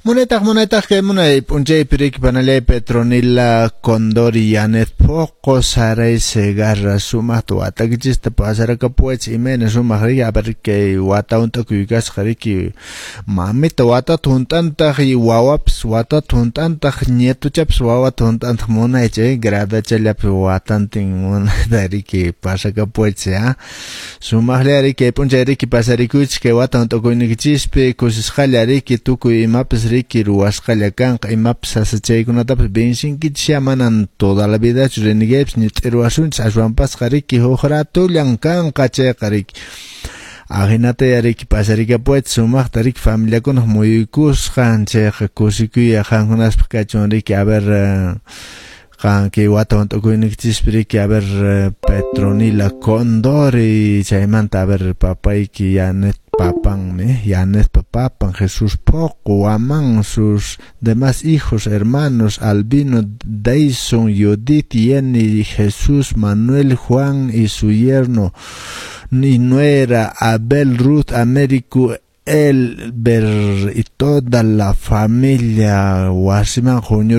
Munaytaq, munaytaq kay munay p'unchaypi riki panallay Petronila Condori, Yanet Poco, Saray Segarra, sumaqta watakichista pasarakapuwaychis, imayna sumaq riki, a ver kay wata hunt'akuy kasqa riki, mamita watata hunt'antaq y wawapas watata hunt'antaq, nietochapas wawata hunt'antaq, munaycha gradachallapi watantin munayta riki pasakapuwaychis ya. Sumaqlla riki kay p'unchay riki pasarikuychis kay wata hunt'akuyniykichispi, kusisqalla riki tukuy imapas riki ruwasqalla kanqa, imapas sasachaykunatapas vencinkichis ya, manan toda la vidachu renegaypis ñit'iruwasunchis, aswanpasqa riki huk ratullan kanqa chayqa riki. Ahinata ya riki pasarikapuwaychis sumaqta riki familiakunaq muyuykusqan, chayqa kusikuy qankunaspaq kachun riki, a ver qan kay wata hunt'akuyniykichispi riki, a ver Petronila Condori, chaymanta a ver papayki Yanet papanmi, Yanetpa papan Jesús Poco, Guamán, sus demás hijos, hermanos, Albino, Dyson, Judith, Jenny, Jesús, Manuel, Juan y su yerno y nuera, Abel, Ruth, Américo, Elber y toda la familia wasiman huñur.